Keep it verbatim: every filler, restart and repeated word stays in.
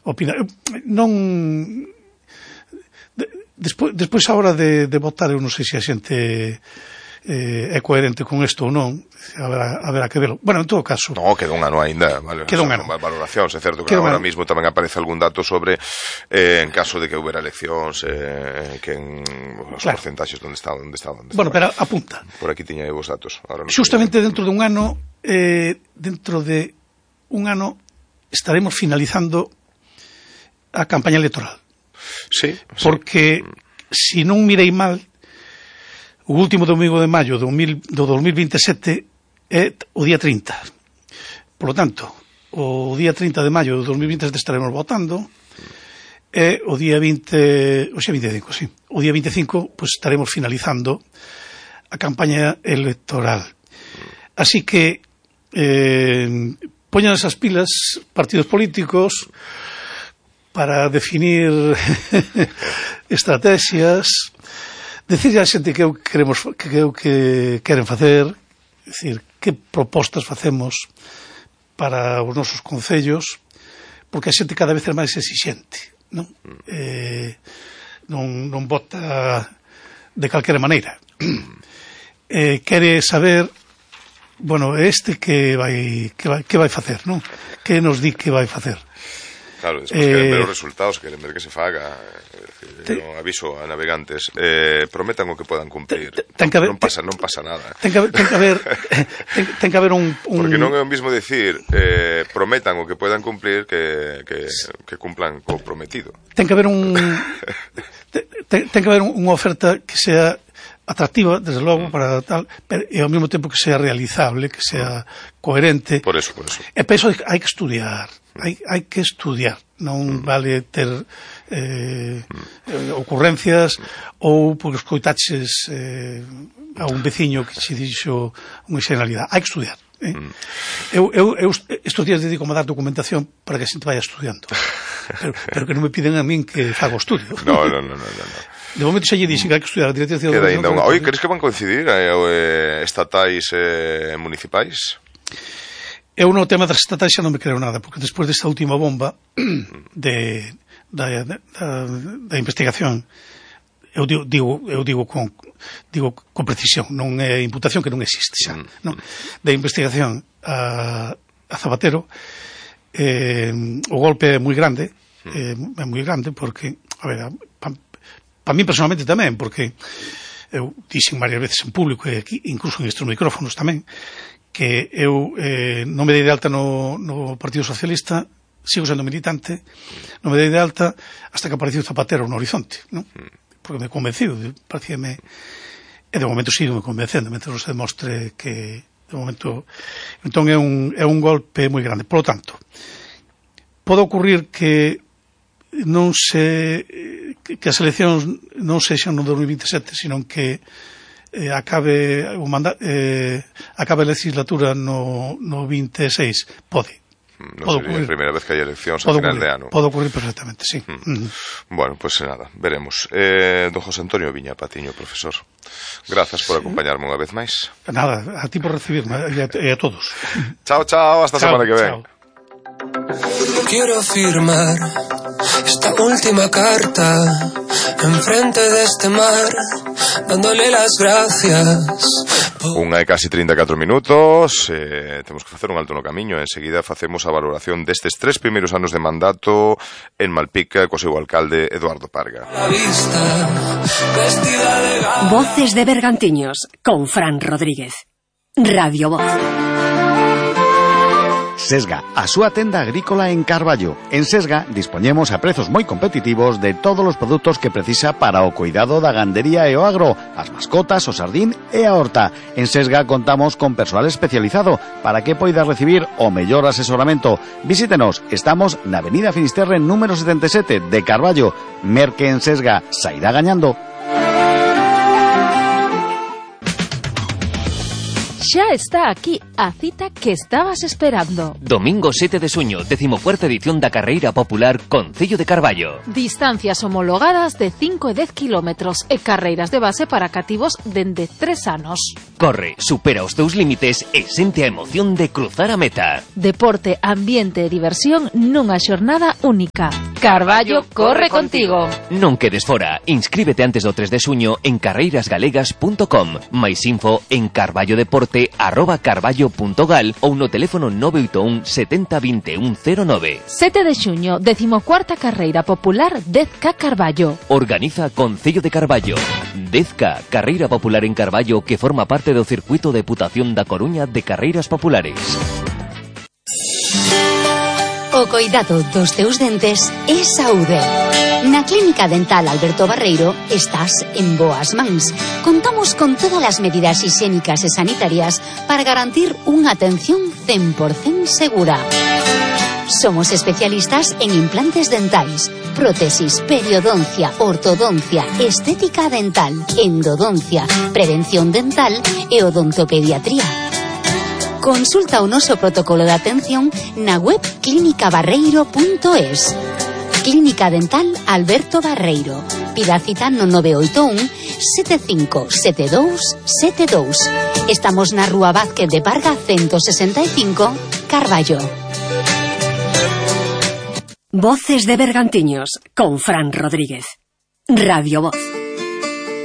opinar. Non... Despois, despois a hora de, de votar, eu non sei se a xente eh, é coherente con isto ou non, haberá, haberá que verlo. Bueno, en todo caso... No, queda un ano ainda, vale, queda un ano. Valoracións, é certo que agora mismo tamén aparece algún dato sobre eh, en caso de que houbera eleccións, eh, que en os claro. porcentaxes onde está, onde está, onde está. Bueno, pero apunta. Por aquí tiña eu os datos. Ahora Justamente dentro de un ano, eh, dentro de un ano, estaremos finalizando a campaña electoral. Sí, sí. Porque, se si non mirei mal, o último domingo de maio do, mil, do dos mil veintesete é o día trinta. Por lo tanto, o día trinta de maio do dos mil veintesete estaremos votando, e o día vinte, o sea, veinticinco, sí, o día veinticinco, pues estaremos finalizando a campaña electoral. Así que, eh, poñan esas pilas partidos políticos para definir estrategias, decir a xente que eu queremos que eu que queren facer, decir, que propostas facemos para os nosos concellos, porque a xente cada vez é máis exixente, non? Eh, non, non vota de calquera maneira. Eh, quere saber, bueno, este que vai que vai que vai facer, non? Que nos di que vai facer. Claro, despois eh, queren ver os resultados, queren ver que se faga. Te, no aviso a navegantes, eh, prometan o que podan cumplir. Te, te, ten que haber, non pasa, non pasa nada. Ten que haber, ten que haber, ten, ten que haber un, un... Porque non é o mismo decir eh, prometan o que podan cumplir que, que, que cumplan co prometido. Ten que haber un ten, ten que haber unha oferta que sea atractiva, desde logo, mm. para tal, pero, e ao mesmo tempo que sea realizable, que sea coherente. Por eso, por eso. E para eso hai que estudiar. Hai, hai que estudiar, non mm. vale ter eh, mm. ocurrencias mm. ou porque escoitaches eh, a un veciño que se dixo unha xenalidade. Hai que estudiar. Eh? Mm. Eu, eu, eu estes días dedico a dar documentación para que a xente vaya estudiando, pero, pero que non me piden a min que faga o estudio. No, no, no, no, no. De momento xa lle dixen que hai que estudiar a directriz de educación. Oye, crees que van coincidir eh, estatais e eh, municipais? Eu no tema das estatais xa non me creo nada, porque despois desta última bomba de, da, da, da investigación, eu digo, digo, eu digo con digo con precisión, non é imputación que non existe xa, mm. non? Da investigación a, a Zapatero, eh, o golpe é moi grande, eh, é moi grande porque, a ver, para pa mí personalmente tamén, porque eu dixen varias veces en público e aquí, incluso en estes micrófonos tamén, que eu eh, non me dei de alta no, no Partido Socialista, sigo sendo militante, non me dei de alta hasta que apareceu Zapatero no horizonte, non? Porque me convenciu, parecíame, e de momento sigo me convencendo, mentre non se demostre que de momento, entón é un, é un golpe moi grande. Por lo tanto, pode ocurrir que non se que as eleccións non sexan no dos mil veintesete, sino que eh, acabe o mandato, eh, acabe a legislatura no, no veintiséis, pode. Non sería a primeira vez que hai eleccións a final ocurrir, de ano. Pode ocurrir perfectamente, sí. Mm. Mm. Bueno, pois pues nada, veremos. Eh, don José Antonio Viña Patiño, profesor, grazas por acompañarme unha vez máis. Nada, a ti por recibirme e a, e a todos. Chao, chao, hasta a semana que ven. Chao. Quiero firmar esta última carta enfrente de este mar, dándole las gracias. Unha e casi trinta e catro minutos, eh, temos que facer un alto no camiño. Enseguida facemos a valoración destes tres primeiros anos de mandato en Malpica co seu alcalde Eduardo Parga. Voces de Bergantiños con Fran Rodríguez. Radio Voz. Sesga, a súa tenda agrícola en Carballo. En Sesga dispoñemos a prezos moi competitivos de todos os produtos que precisa para o cuidado da gandería e o agro, as mascotas, o sardín e a horta. En Sesga contamos con persoal especializado para que poida recibir o mellor asesoramento. Visítenos, estamos na Avenida Finisterre número setenta e sete de Carballo. Merque en Sesga, sairá gañando. Xa está aquí a cita que estabas esperando. Domingo sete de xuño, decimocuarta edición da Carreira Popular Concello de Carballo. Distancias homologadas de cinco e dez kilómetros e carreiras de base para cativos dende tres anos. Corre, supera os teus límites e sente a emoción de cruzar a meta. Deporte, ambiente e diversión nunha xornada única. Carballo corre contigo. Non quedes fora. Inscríbete antes do tres de xuño en carreiras galegas punto com. Mais info en carballodeporte arroba carballo punto gal ou no teléfono nove oito un setenta vinte un cero nove. sete de xuño, decimocuarta Carreira Popular dez K Carballo. Organiza Concello de Carballo. dez K, Carreira Popular en Carballo, que forma parte do circuito de Deputación da Coruña de Carreiras Populares. O coidado dos teus dentes é saúde. Na Clínica Dental Alberto Barreiro estás en boas mans. Contamos con todas as medidas higiénicas e sanitarias para garantir unha atención cen por cento segura. Somos especialistas en implantes dentais, prótesis, periodoncia, ortodoncia, estética dental, endodoncia, prevención dental e odontopediatría. Consulta o noso protocolo de atención na web clínica barreiro punto es. Clínica Dental Alberto Barreiro. Pida cita no nove oito un sete cinco sete dous sete dous. Estamos na Rúa Vázquez de Parga ciento sesenta e cinco, Carballo. Voces de Bergantiños, con Fran Rodríguez. Radio Voz.